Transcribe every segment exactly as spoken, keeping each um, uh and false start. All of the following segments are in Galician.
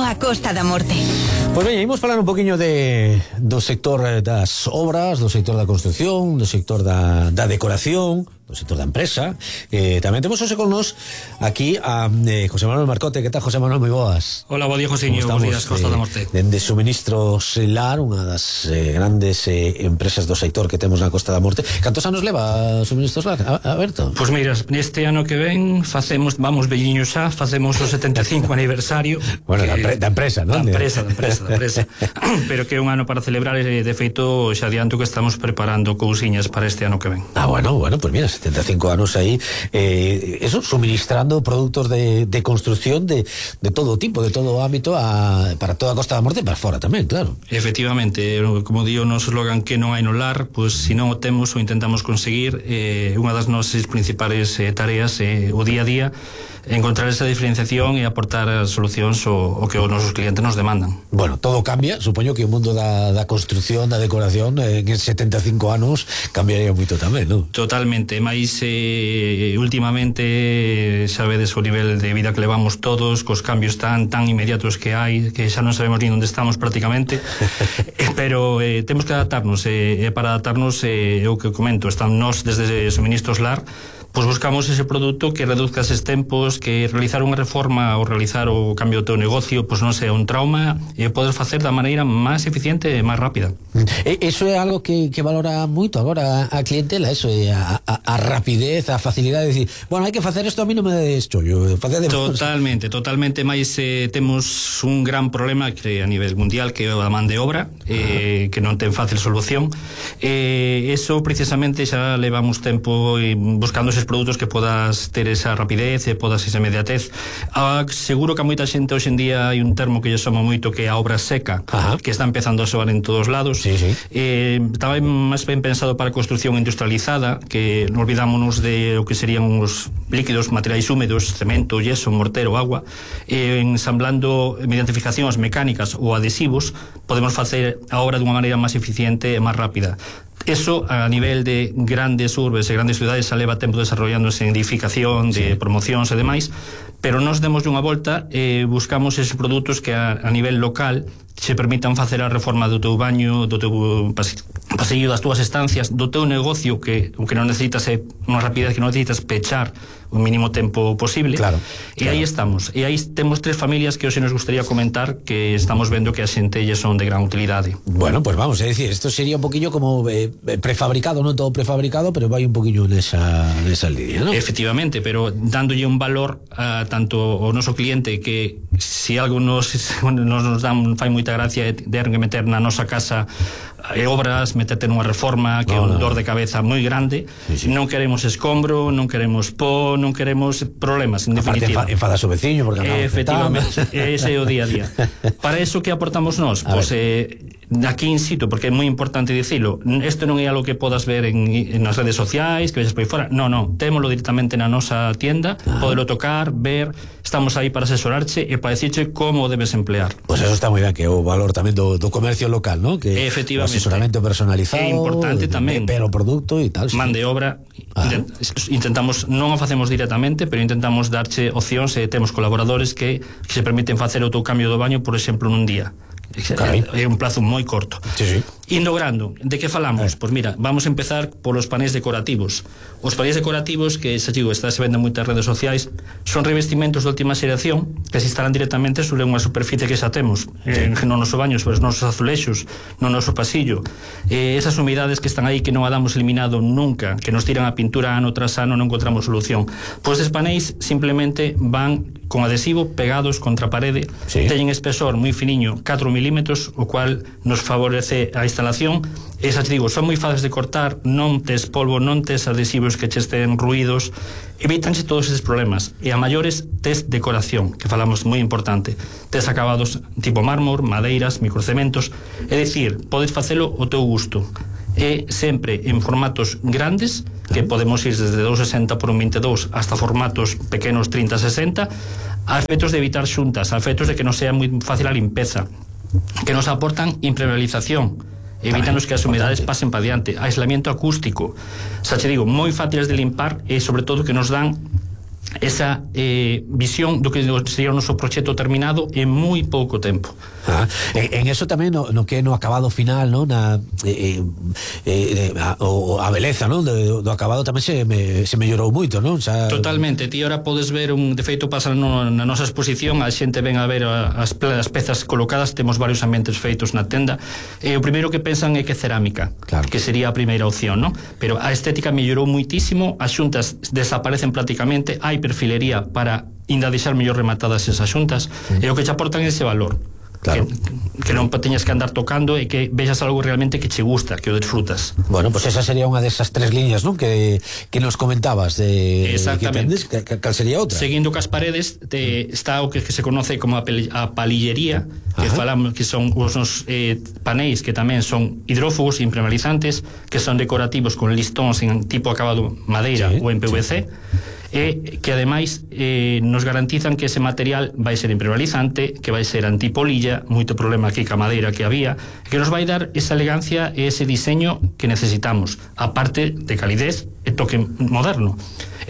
Benvido á Costa da Morte. Pois veña, imos falar un poquinho de, do sector das obras, do sector da construción, do sector da, da decoración, do sector da empresa. Eh, tamén temos hoxe con nos aquí a eh, José Manuel Marcote. Que tal, José Manuel? Moi boas. Hola, bo día, Josiño. Bos días, Costa da Morte. Dende Suministros Lar, unha das eh, grandes eh, empresas do sector que temos na Costa da Morte. Cantos anos leva Suministros Lar, Alberto? Pois pues mira, neste ano que ven facemos, vamos velliños xa, facemos o setenta e cinco aniversario. Bueno, que, da, da empresa, non? Da empresa, da empresa, da empresa. Pero que é un ano para celebrar, e de feito xa adianto que estamos preparando cousiñas para este ano que ven. Ah, bueno, bueno, pues mira, setenta e cinco anos aí, eh, eso, suministrando produtos de, de construcción de, de todo tipo, de todo ámbito a, para toda a Costa da Morte e para fora tamén, claro. Efectivamente, como digo, o noso slogan que non hai no lar, pois pues, se non o temos o intentamos conseguir, eh, unha das nosas principales eh, tareas é eh, o día a día encontrar esa diferenciación e aportar solucións o, o que os nosos clientes nos demandan. Bueno, todo cambia, supoño que o mundo da, da construcción, da decoración, eh, en setenta e cinco anos cambiaría moito tamén, non? Totalmente, máis eh, últimamente sabedes o nivel de vida que levamos todos, cos cambios tan tan inmediatos que hai, que xa non sabemos ni onde estamos prácticamente, pero eh, temos que adaptarnos, e eh, para adaptarnos, eh, o que comento, están nós desde Suministros Lar, pois buscamos ese produto que reduzca eses tempos, que realizar unha reforma ou realizar o cambio do teu negocio pois non sea un trauma, e podes facer da maneira máis eficiente e máis rápida. E, eso é algo que, que valora moito agora a clientela, eso é a, a, a rapidez, a facilidade de decir, bueno, hai que facer isto, a mí non me des chollo. Totalmente, totalmente, máis eh, temos un gran problema que a nivel mundial, que é a man de obra, eh, que non ten fácil solución. Eh, eso precisamente xa levamos tempo buscando ese produtos que podas ter esa rapidez e podas esa inmediatez. Ah, seguro que a moita xente hoxe en día hai un termo que lle soma moito, que é a obra seca. Ajá. Que está empezando a soar en todos lados. Sí, sí. Eh, estaba máis ben pensado para a construcción industrializada, que non olvidámonos de o que serían os líquidos, materiais húmedos, cemento, yeso, mortero, agua, eh, ensamblando mediante fijacións mecánicas ou adhesivos podemos facer a obra dunha maneira máis eficiente e máis rápida. Eso a nivel de grandes urbes e grandes cidades xa leva tempo desarrollándose en edificación, de sí. promocións e demais, pero nos demos unha volta e eh, buscamos esos produtos que a, a nivel local se permitan facer a reforma do teu baño, do teu pasillo, das túas estancias, do teu negocio, que o que non necesitas é unha rapidez, que non necesitas pechar o mínimo tempo posible. Claro, e claro. aí estamos, e aí temos tres familias que hoxe nos gustaría comentar, que estamos vendo que as xentelles son de gran utilidade. Bueno, pues vamos, é dicir, esto sería un poquillo como eh, prefabricado, non todo prefabricado, pero vai un poquillo nesa, nesa línea, ¿no? Efectivamente, pero dándolle un valor a tanto o noso cliente, que se si algo nos, nos, nos dan, fai moita gracia de que meter na nosa casa e obras, meterte nunha reforma que é un dor de cabeza moi grande. Sí, sí. Non queremos escombro, non queremos pó, non queremos problemas, en definitiva. Aparte enfadas o veciño porque non, efectivamente, ese é o día a día. Para eso que aportamos nós? Pois pues, eh, aquí in situ, porque é moi importante dicilo, isto non é algo que podas ver en, en nas redes sociais, que vexas por aí fora, non, non, témolo directamente na nosa tienda, ah. podelo tocar, ver, estamos aí para asesorarche e para decirche como debes emplear. Pois pues eso está moi ben, que é o valor tamén do, do comercio local, ¿no? Que efectivamente, o asesoramento personalizado, é importante tamén, pero produto e tal, sí. Man de obra, ah. intentamos, non o facemos directamente, pero intentamos darche opcións, e temos colaboradores que, que se permiten facer o teu cambio do baño, por exemplo, nun día. Carai. É un plazo moi corto. Sí, sí. Indo grande, de que falamos? Eh. Pois mira, vamos a empezar polos panéis decorativos. Os panéis decorativos, que xa digo, está se vende en moitas redes sociais, son revestimentos de última xeración que se instalan directamente sobre unha superficie que xa temos, sí. eh, no noso baño, sobre os nosos azulexos, no noso pasillo. Eh, esas humidades que están aí, que non a damos eliminado nunca, que nos tiran a pintura ano tras ano, non encontramos solución. Pois estes panéis simplemente van con adhesivo pegados contra a parede, sí. teñen espesor moi finiño, catro milímetros, o cual nos favorece a instalación. Esas, digo, son moi fáciles de cortar, non tes polvo, non tes adhesivos que che estén ruídos, evítanse todos estes problemas. E a maiores tes decoración, que falamos moi importante, tes acabados tipo mármor, madeiras, microcementos, é dicir, podes facelo o teu gusto, e sempre en formatos grandes, que podemos ir desde doscientos sesenta por un veintidós hasta formatos pequenos trinta sesenta, a efectos de evitar xuntas, a efectos de que non sea moi fácil a limpeza, que nos aportan impermeabilización, evítanos que as humedades pasen para diante, aislamiento acústico, xa che digo, moi fáciles de limpar, e sobre todo que nos dan esa eh, visión do que sería o noso proxecto terminado en moi pouco tempo. Ah, en, en eso tamén no, no que no acabado final, no, na eh, eh, a, o a beleza, no, do, do acabado tamén se me, se mellorou moito, non? Xa... Totalmente, ti ahora podes ver un defeito pasa no, na nosa exposición, a xente ven a ver as, as pezas colocadas, temos varios ambientes feitos na tenda, e o primeiro que pensan é que é cerámica, claro, que sería a primeira opción, no? Pero a estética mellorou muitísimo, as xuntas desaparecen prácticamente, hai perfilería para ainda deixar mellor rematadas esas xuntas, mm. e o que che aportan ese valor. Claro. Que, que non teñas que andar tocando e que vexas algo realmente que che gusta, que o disfrutas. Bueno, pues esa sería unha desas tres líneas, non? Que, que nos comentabas de, exactamente. Que tendes, cal sería outra? Seguindo cas paredes te, está o que, que se conoce como a, pel, a palillería, que Ajá. falamos que son os nos, eh, paneis que tamén son hidrófugos, impermeabilizantes, que son decorativos con listóns en tipo acabado madeira sí, ou en P V C. Sí. E que ademais eh, nos garantizan que ese material vai ser impermeabilizante, que vai ser antipolilla, moito problema aquí ca madeira que había, que nos vai dar esa elegancia e ese diseño que necesitamos, aparte de calidez e toque moderno.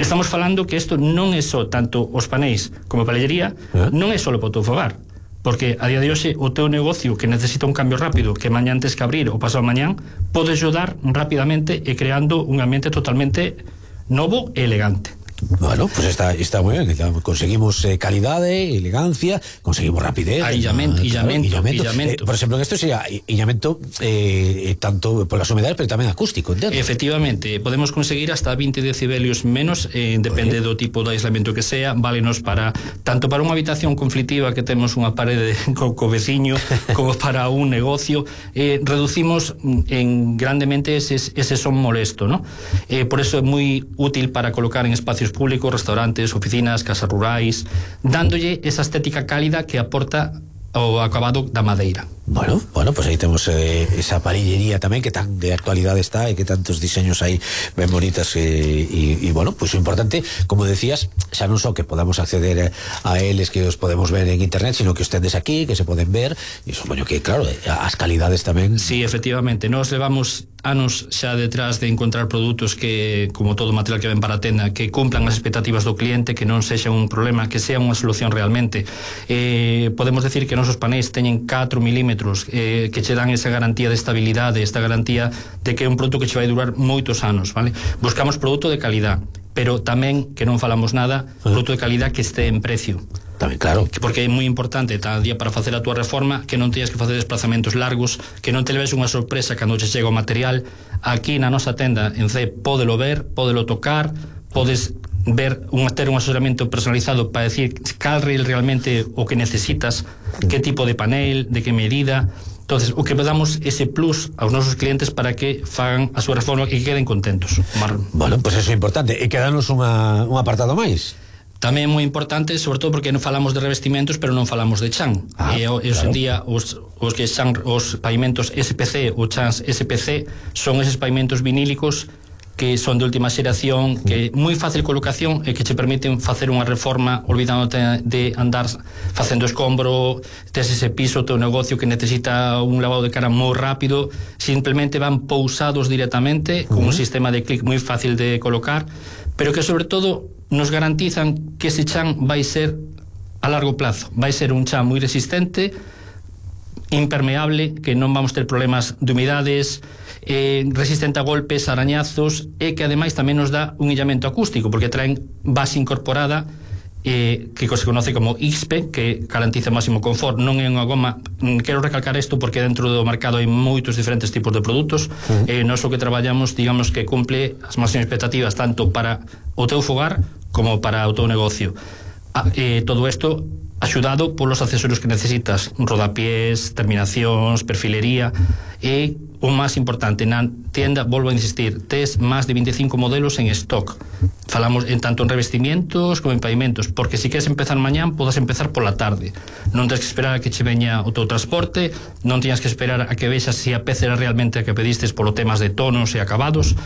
Estamos falando que isto non é só tanto os paneis como a pallería, ¿Eh? Non é só para o teu fogar, porque a día de hoxe o teu negocio que necesita un cambio rápido, que mañá antes que abrir ou pasado mañán, podes ayudar rapidamente e creando un ambiente totalmente novo e elegante. Bueno, pues está, está muy bien. Conseguimos eh, calidade, elegancia, conseguimos rapidez. Ah, illamento, claro, illamento, illamento. illamento. Eh, por exemplo, en esto sería illamento eh, tanto por las humedades, pero tamén acústico, entendo? Efectivamente, podemos conseguir hasta veinte decibelios menos, eh, depende do tipo de aislamiento que sea, válenos para tanto para unha habitación conflictiva que temos unha parede co, co veciño, como para un negocio, eh, reducimos en grandemente ese, ese son molesto, ¿no? Eh, por eso é moi útil para colocar en espacios públicos, restaurantes, oficinas, casas rurais, dándolle esa estética cálida que aporta o acabado da madeira. Bueno, bueno, pues aí temos eh, esa parillería tamén que tan de actualidade está e que tantos diseños aí ben bonitas e, e, e bueno, pues o importante, como decías, xa non só que podamos acceder a eles, que os podemos ver en internet, sino que os tendes aquí, que se poden ver, e supoño que, claro, as calidades tamén. Sí, efectivamente, nos levamos anos xa detrás de encontrar produtos que, como todo material que ven para a tenda, que cumplan as expectativas do cliente, que non sexa un problema, que sea unha solución realmente. Eh, podemos decir que nosos panéis teñen catro milímetros, eh, que che dan esa garantía de estabilidade, esta garantía de que é un produto que che vai durar moitos anos, vale? Buscamos produto de calidad, pero tamén, que non falamos nada, produto de calidad que este en precio. Tamén, claro. Porque é moi importante cada día para facer a túa reforma que non teñas que facer desplazamentos largos, que non te leves unha sorpresa cando che chega o material. Aquí na nosa tenda en C pódelo ver, pódelo tocar, podes ver un, ter un asesoramento personalizado para decir cal realmente o que necesitas, que tipo de panel, de que medida. Entonces, o que damos ese plus aos nosos clientes para que fagan a súa reforma e que queden contentos. Bueno, pues eso é importante. E quedanos unha, un apartado máis. Tamén é moi importante, sobre todo porque non falamos de revestimentos, pero non falamos de chan. Ah, e hoxe claro. En día os, os que chan, os pavimentos S P C ou chans S P C son eses pavimentos vinílicos que son de última xeración, que é moi fácil colocación e que che permiten facer unha reforma olvidándote de andar facendo escombro, tes ese piso, teu negocio que necesita un lavado de cara moi rápido, simplemente van pousados directamente con uh-huh. un sistema de clic moi fácil de colocar, pero que sobre todo nos garantizan que ese chan vai ser a largo plazo, vai ser un chan moi resistente, impermeable, que non vamos ter problemas de humidades, eh, resistente a golpes, arañazos, e que ademais tamén nos dá un illamento acústico, porque traen base incorporada, eh, que se conoce como X P, que garantiza máximo confort. Non é unha goma, quero recalcar isto porque dentro do mercado hai moitos diferentes tipos de produtos. Uh-huh. eh, Nos o que traballamos, digamos que cumple as máximas expectativas tanto para o teu fogar como para o teu negocio. Ah, eh, todo isto axudado polos accesorios que necesitas, rodapiés, terminacións, perfilería, e o máis importante, na tienda, volvo a insistir, tes máis de veinticinco modelos en stock. Falamos en tanto en revestimientos como en pavimentos, porque se queres empezar mañán, podes empezar pola tarde. Non tens que esperar a que che veña o teu transporte, non tens que esperar a que vexas se a peza era realmente a que pedistes polo temas de tonos e acabados.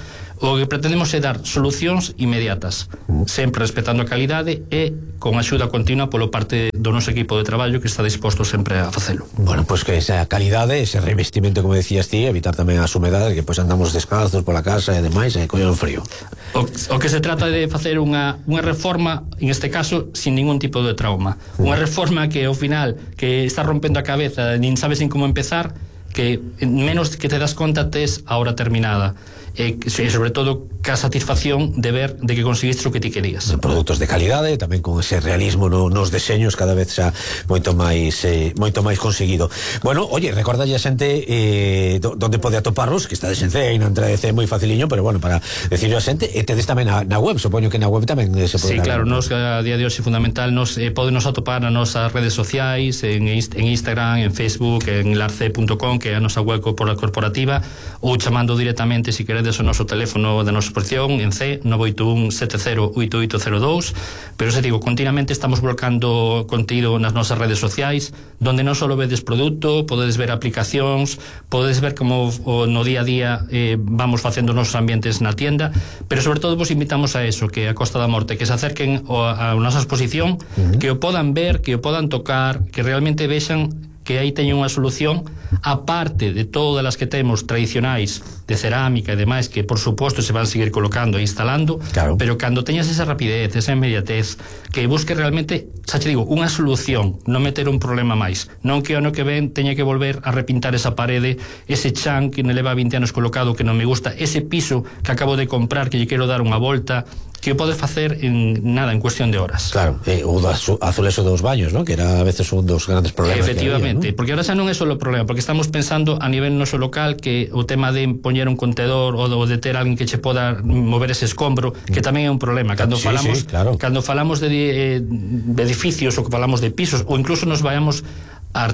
O que pretendemos é dar solucións inmediatas, sempre respetando a calidade e con axuda continua polo parte do noso equipo de traballo que está disposto sempre a facelo. Bueno, pois pues que esa calidade, ese revestimento, como decías ti, evitar tamén as humedades, que pois pues andamos descalzos pola casa e demais, e coño frío. O, o que se trata de facer unha, unha reforma, en este caso, sin ningún tipo de trauma. Unha reforma que ao final, que está rompendo a cabeza, nin sabes nin como empezar, que menos que te das conta tes a hora terminada. E sobre todo ca satisfacción de ver de que conseguiste o que ti querías. Produtos de calidade, tamén con ese realismo no, nos deseños cada vez xa moito máis eh, moito máis conseguido. Bueno, oye, recorda a xente eh, do, donde pode atoparlos, que está de Sencea e non entra de C moi faciliño, pero bueno, para decirlo a xente, e tedes tamén na, na web, supoño que na web tamén se pode. Sí, claro, nos a día de hoxe fundamental, nos eh, podenos atopar nas nosas redes sociais, en, en Instagram, en Facebook, en larce punto com, que é a nosa web corporativa, ou chamando directamente, se queredes, o noso teléfono da nosa exposición en C nove oito un sete cero oito oito cero dous. Pero se digo, continuamente estamos volcando contido nas nosas redes sociais, donde non só vedes produto, podedes ver aplicacións, podedes ver como o, no día a día eh, vamos facendo os nosos ambientes na tienda, pero sobre todo vos invitamos a eso, que a Costa da Morte, que se acerquen a, a nosa exposición, uh-huh. que o podan ver, que o podan tocar, que realmente vexan que aí teñen unha solución aparte de todas as que temos tradicionais de cerámica e demais, que por suposto se van seguir colocando e instalando, claro. Pero cando teñas esa rapidez, esa inmediatez, que busque realmente, xa te digo, unha solución, non meter un problema máis, non que o ano que ven teña que volver a repintar esa parede, ese chan que me leva vinte anos colocado que non me gusta, ese piso que acabo de comprar que lle quero dar unha volta, que o podes facer en nada, en cuestión de horas. Claro, eh, o azuleso dos baños, ¿no? Que era a veces un dos grandes problemas. Efectivamente, que había, ¿no? Porque ahora xa non é só o problema, porque estamos pensando a nivel noso local que o tema de poñer un contenedor ou de ter alguén que che poda mover ese escombro, que tamén é un problema. Cando sí, falamos sí, claro. Cando falamos de, de edificios ou que falamos de pisos, ou incluso nos vayamos a,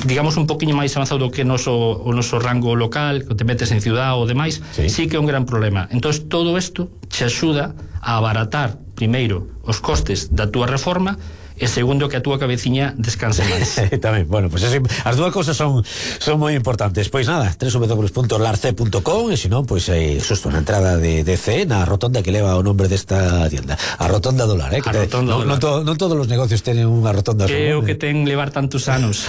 digamos, un poquinho máis avanzado do que noso, o noso rango local, que te metes en ciudad ou demais, sí, sí que é un gran problema. Entón, todo isto te axuda a abaratar, primeiro, os costes da túa reforma, e segundo, que a túa cabeciña descanse máis. Tamén, bueno, pues así, as dúas cosas son son moi importantes. Pois nada, doble u doble u doble u punto larce punto com, e se non, pois eh, xusto na entrada de, de C, na rotonda que leva o nombre desta tienda, a rotonda do lar, eh, que a te, rotonda no, do lar. Non to, no todos os negocios teñen unha rotonda. Que é o que ten levar tantos anos.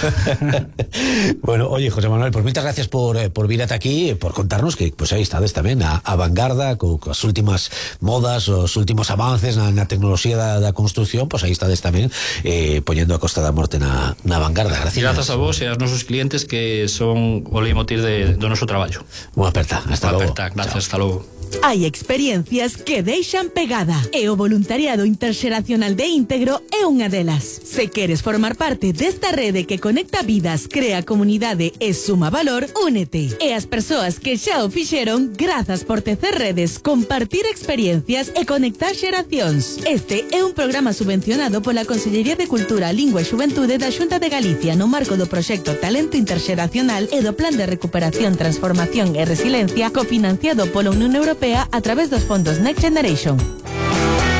Bueno, oye, José Manuel, pues moitas gracias por, eh, por vir ata aquí, por contarnos que pues aí estades tamén a, a vanguarda co, coas últimas modas, os últimos avances na, na tecnoloxía da, da construcción, pues aí estades tamén eh, poñendo a Costa da Morte na, na vanguarda. Gracias. Grazas a vos e aos nosos clientes, que son o leitmotiv de, do noso traballo. Unha aperta, hasta logo. Aperta, gracias, hasta logo. Hai experiencias que deixan pegada e o voluntariado interxeracional de Íntegro é unha delas. Se queres formar parte desta rede que conecta vidas, crea comunidade e suma valor, únete. E as persoas que xa o fixeron, grazas por tecer redes, compartir experiencias e conectar xeracións. Este é un programa subvencionado pola Consellería de Cultura, Lingua e Xuventude da Xunta de Galicia no marco do proxecto Talento Interxeracional e do Plan de Recuperación, Transformación e Resiliencia, cofinanciado pola Unión Europea a través dos fondos Next Generation.